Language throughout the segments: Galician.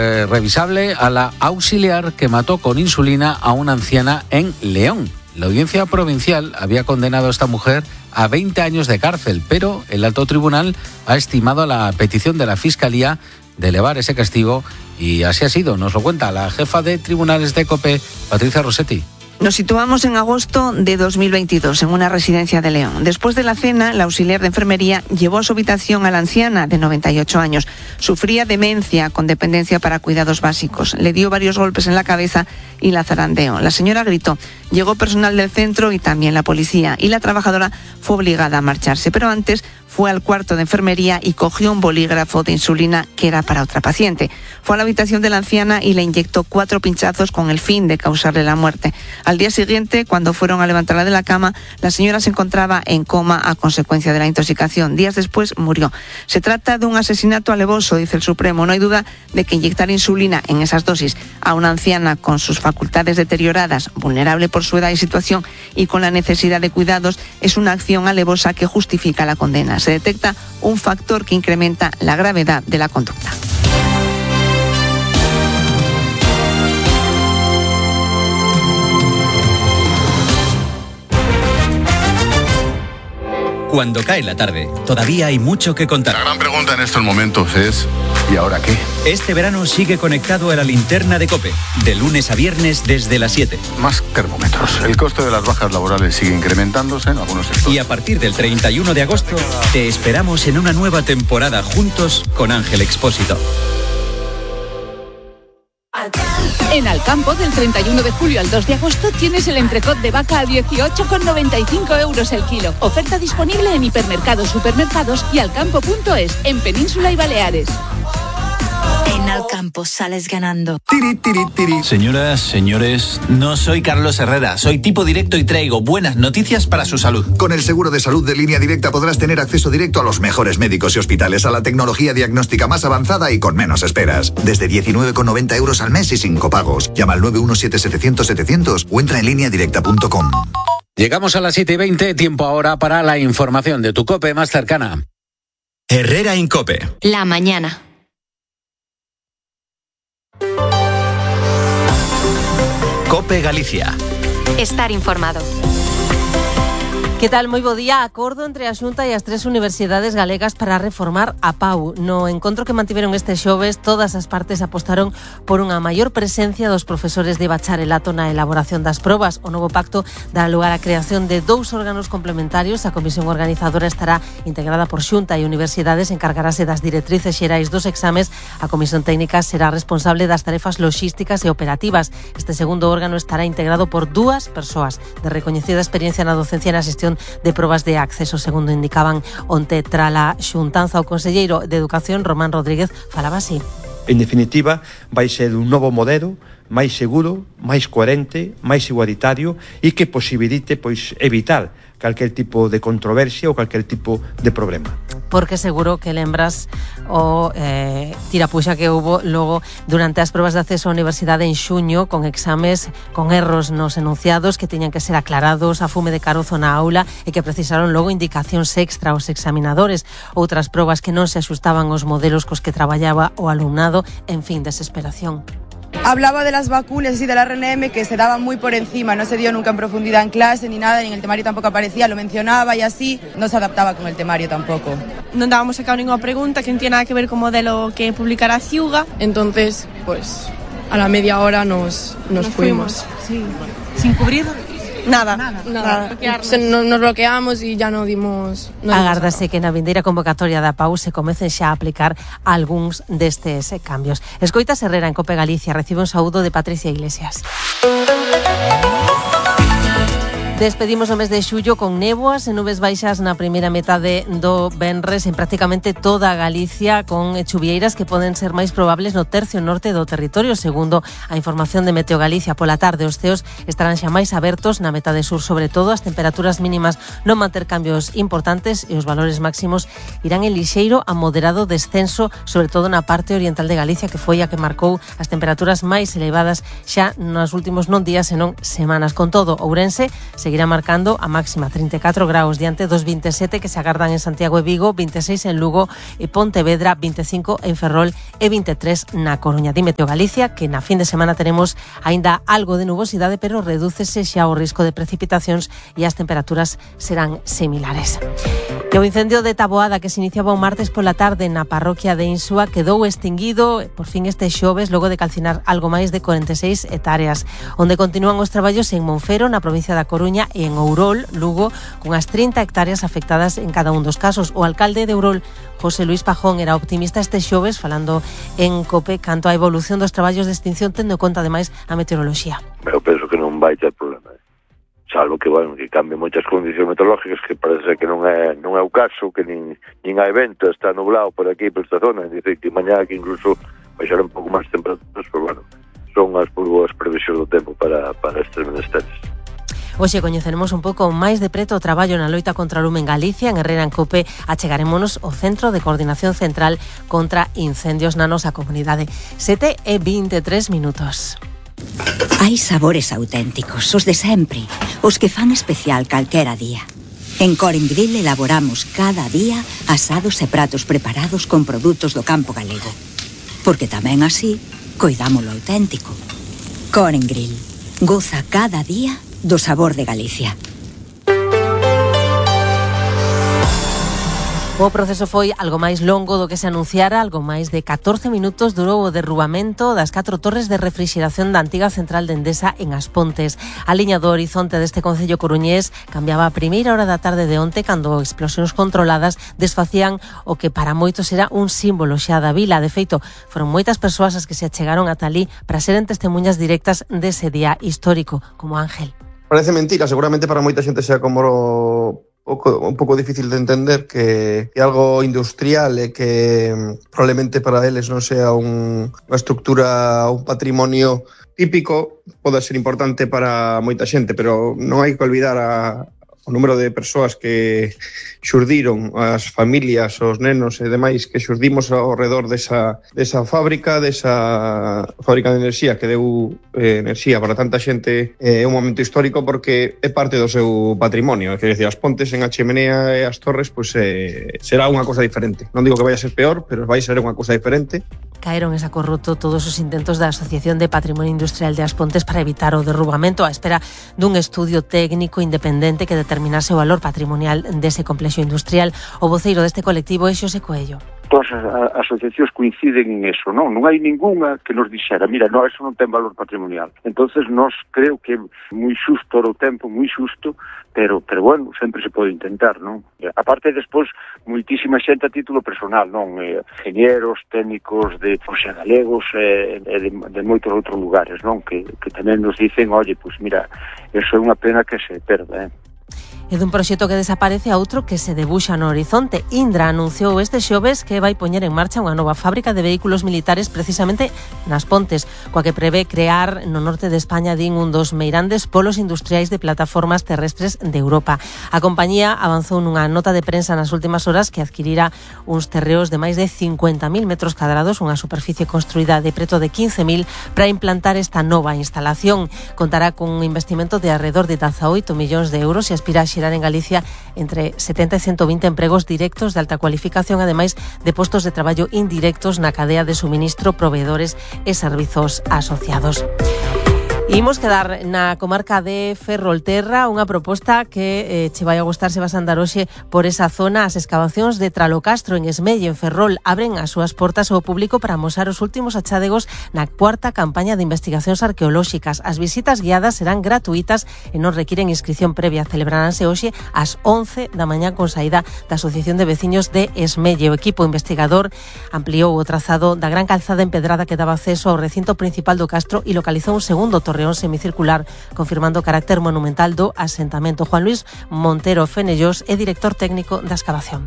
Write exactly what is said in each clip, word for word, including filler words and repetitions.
Eh, revisable a la auxiliar que mató con insulina a una anciana en León. La audiencia provincial había condenado a esta mujer a veinte años de cárcel, pero el alto tribunal ha estimado la petición de la Fiscalía de elevar ese castigo y así ha sido. Nos lo cuenta la jefa de tribunales de COPE, Patricia Rossetti. Nos situamos en agosto de dos mil veintidós, en una residencia de León. Después de la cena, la auxiliar de enfermería llevó a su habitación a la anciana de noventa y ocho años. Sufría demencia con dependencia para cuidados básicos. Le dio varios golpes en la cabeza y la zarandeó. La señora gritó. Llegó personal del centro y también la policía. Y la trabajadora fue obligada a marcharse. Pero antes fue al cuarto de enfermería y cogió un bolígrafo de insulina que era para otra paciente. Fue a la habitación de la anciana y le inyectó cuatro pinchazos con el fin de causarle la muerte. Al día siguiente, cuando fueron a levantarla de la cama, la señora se encontraba en coma a consecuencia de la intoxicación. Días después murió. Se trata de un asesinato alevoso, dice el Supremo. No hay duda de que inyectar insulina en esas dosis a una anciana con sus facultades deterioradas, vulnerable por su edad y situación y con la necesidad de cuidados, es una acción alevosa que justifica la condena. Se detecta un factor que incrementa la gravedad de la conducta. Cuando cae la tarde, todavía hay mucho que contar. La gran pregunta en estos momentos es, ¿y ahora qué? Este verano sigue conectado a la linterna de COPE, de lunes a viernes desde las siete. Más termómetros. El coste de las bajas laborales sigue incrementándose en algunos sectores. Y a partir del treinta y uno de agosto, te esperamos en una nueva temporada juntos con Ángel Expósito. En Alcampo, del treinta y uno de julio al dos de agosto, tienes el entrecot de vaca a dieciocho con noventa y cinco euros el kilo. Oferta disponible en hipermercados, supermercados y alcampo punto es, en Península y Baleares. En Alcampo sales ganando. Tiri, tiri, tiri. Señoras, señores, no soy Carlos Herrera, soy tipo directo y traigo buenas noticias para su salud. Con el seguro de salud de Línea Directa podrás tener acceso directo a los mejores médicos y hospitales, a la tecnología diagnóstica más avanzada y con menos esperas. Desde diecinueve con noventa euros al mes y sin copagos. Llama al nueve uno siete setecientos setecientos o entra en línea directa punto com. Llegamos a las siete y veinte, tiempo ahora para la información de tu COPE más cercana. Herrera en COPE. La mañana. COPE Galicia. Estar informado. Que tal? Moi bo día. Acordo entre a Xunta e as tres universidades galegas para reformar a P A U. No encontro que mantiveron este xoves, todas as partes apostaron por unha maior presencia dos profesores de bacharelato na elaboración das probas. O novo pacto dará lugar á creación de dous órganos complementarios. A comisión organizadora estará integrada por Xunta e universidades, encargarase das directrices xerais dos exames. A comisión técnica será responsable das tarefas logísticas e operativas. Este segundo órgano estará integrado por dúas persoas de recoñecida experiencia na docencia e na xestión de probas de acceso, segundo indicaban onte trala xuntanza. O conselleiro de Educación, Román Rodríguez, falaba así. En definitiva, vai ser un novo modelo máis seguro, máis coherente, máis igualitario e que posibilite pois evitar calquer tipo de controversia ou calquer tipo de problema. Porque seguro que lembras o eh, tirapuxa que hubo logo durante as probas de acceso á universidade en xuño, con exames con erros nos enunciados que teñan que ser aclarados, a fume de carozo na aula e que precisaron logo indicacións extra aos examinadores, outras probas que non se axustaban aos modelos cos que traballaba o alumnado, en fin, desesperación. Hablaba de las vacunas y del R N M que se daban muy por encima, no se dio nunca en profundidad en clase ni nada, ni en el temario tampoco aparecía, lo mencionaba y así, no se adaptaba con el temario tampoco. Non dábamos sacado ninguna pregunta que non tiene nada que ver con o modelo que publicará Ciuga, entonces, pues, a la media hora nos, nos, nos fuimos. fuimos. Sí. ¿Sin cubrir? Nada, nada, nada. nada. Se, no, nos bloqueamos e ya non dimos... No Agárdase que na vindeira convocatoria da P A U se comecen xa a aplicar algúns destes cambios. Escoitas Herrera en COPE Galicia, recibe un saúdo de Patricia Iglesias. Despedimos o mes de xullo con néboas e nubes baixas na primeira metade do venres en prácticamente toda a Galicia, con chuvieiras que poden ser máis probables no tercio norte do territorio, segundo a información de Meteo Galicia. Pola tarde os ceos estarán xa máis abertos na metade sur, sobre todo as temperaturas mínimas non manter cambios importantes e os valores máximos irán en lixeiro a moderado descenso, sobre todo na parte oriental de Galicia, que foi a que marcou as temperaturas máis elevadas xa nos últimos non días senón semanas. Con todo, Ourense se seguirá marcando a máxima treinta e catro graus diante dos vinte e sete que se agardan en Santiago e Vigo, vinte e seis en Lugo e Pontevedra, vinte e cinco en Ferrol e vinte e tres na Coruña. Di Meteo Galicia que na fin de semana teremos aínda algo de nubosidade, pero redúcese xa o risco de precipitacións e as temperaturas serán similares. E o incendio de Taboada que se iniciaba o martes pola tarde na parroquia de Insúa quedou extinguido por fin este xoves logo de calcinar algo máis de corenta e seis hectáreas, onde continúan os traballos en Monfero, na provincia da Coruña, e en Ourol, Lugo, con as trinta hectáreas afectadas en cada un dos casos. O alcalde de Ourol, José Luis Pajón, era optimista este xoves falando en COPE canto á evolución dos traballos de extinción, tendo en conta ademais a meteoroloxía. Eu penso que non vai ter problema, salvo que, bueno, que cambie moitas condicións meteorológicas, que parece que non é non é o caso, que nin, nin hai vento, está nublado por aquí, por esta zona, dice que mañá que incluso baixar un pouco máis temperaturas, pero bueno, son as boas previsións do tempo para, para estes menesteres. Hoxe coñeceremos un pouco máis de preto o traballo na loita contra o lume en Galicia. En Herrera en Cope achegarémonos ao Centro de Coordinación Central contra Incendios na nosa comunidade. sete e vinte e tres minutos. Hai sabores auténticos, os de sempre, os que fan especial calquera día. En Coren Grill elaboramos cada día asados e pratos preparados con produtos do campo galego. Porque tamén así, coidamos lo auténtico. Coren Grill, goza cada día do sabor de Galicia. O proceso foi algo máis longo do que se anunciara. Algo máis de catorce minutos durou o derrubamento das catro torres de refrixeración da antiga central de Endesa en As Pontes. A liña do horizonte deste concello coruñés cambiaba a primeira hora da tarde de onte, cando explosións controladas desfacían o que para moitos era un símbolo xa da vila. De feito, foron moitas persoas as que se achegaron ata ali para seren testemunhas directas dese día histórico, como Ángel. Parece mentira, seguramente para moita xente sea como un pouco difícil de entender que, que algo industrial e que probablemente para eles non sea un, unha estructura, un patrimonio típico, pode ser importante para moita xente, pero non hai que olvidar a, o número de persoas que xurdiron, as familias, os nenos e demais que xurdimos ao redor desa, desa fábrica, desa fábrica de enerxía que deu eh, enerxía para tanta xente. É eh, un momento histórico porque é parte do seu patrimonio. É dicir, As Pontes en a Chimenea e as Torres, pois eh, será unha cosa diferente. Non digo que vai a ser peor, pero vai ser unha cosa diferente. Caeron en saco roto todos os intentos da Asociación de Patrimonio Industrial de As Pontes para evitar o derrubamento, á espera dun estudio técnico independente que determinase o valor patrimonial dese complexo industrial. O voceiro deste colectivo é Xosé Coello. Todas as asociacións coinciden en eso, non? Non hai ningunha que nos dixera, mira, no, eso non ten valor patrimonial. Entonces, nós creo que é moi xusto o tempo, moi xusto, pero, pero bueno, sempre se pode intentar, non? A parte, despois, moitísima xente a título personal, non? Eh, ingenieros, técnicos de, o sea, galegos e eh, de, de moitos outros lugares, non? Que, que tamén nos dicen, oye, pues mira, eso é unha pena que se perda, eh? E dun proxecto que desaparece a outro que se debuxa no horizonte. Indra anunciou este xoves que vai poñer en marcha unha nova fábrica de vehículos militares precisamente nas Pontes, coa que prevé crear no norte de España, din, un dos meirandes polos industriais de plataformas terrestres de Europa. A compañía avanzou nunha nota de prensa nas últimas horas que adquirira uns terreos de máis de cincuenta mil metros cadrados, unha superficie construída de preto de quince mil, para implantar esta nova instalación. Contará con un investimento de alrededor de dezaoito millóns de euros e aspira a xerar en Galicia entre setenta e ciento vinte empregos directos de alta cualificación, ademais de postos de traballo indirectos na cadea de suministro, proveedores e servizos asociados. Imos quedar na comarca de Ferrolterra, unha proposta que eh, che vai a gustar se vas a andar hoxe por esa zona. As excavacións de Tralocastro en Esmelle, en Ferrol, abren as súas portas ao público para amosar os últimos achádegos na cuarta campaña de investigacións arqueolóxicas. As visitas guiadas serán gratuitas e non requiren inscripción previa. Celebraránse hoxe ás once da mañá con saída da Asociación de Veciños de Esmelle. O equipo investigador ampliou o trazado da gran calzada empedrada que daba acceso ao recinto principal do castro e localizou un segundo torre semicircular, confirmando o carácter monumental do asentamento. Juan Luis Montero Fenellós é director técnico da excavación.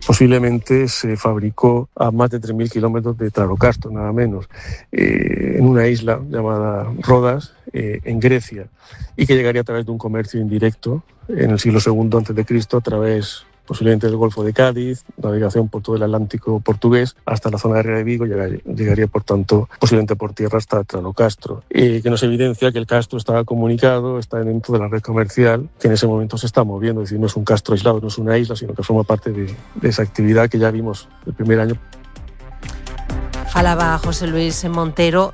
Posiblemente se fabricó a más de tres mil kilómetros de Tralocastro, nada menos, eh, en una isla llamada Rodas, eh, en Grecia, y que llegaría a través de un comercio indirecto en el siglo segundo antes de Cristo, a través posiblemente del Golfo de Cádiz, navegación por todo el Atlántico portugués hasta la zona de Ría de Vigo, llegaría, llegaría por tanto posiblemente por tierra hasta Tranocastro, eh, que nos evidencia que el castro está comunicado, está dentro de la red comercial que en ese momento se está moviendo, es decir, no es un castro aislado, no es una isla, sino que forma parte de, de esa actividad que ya vimos el primer año. Falaba José Luis Montero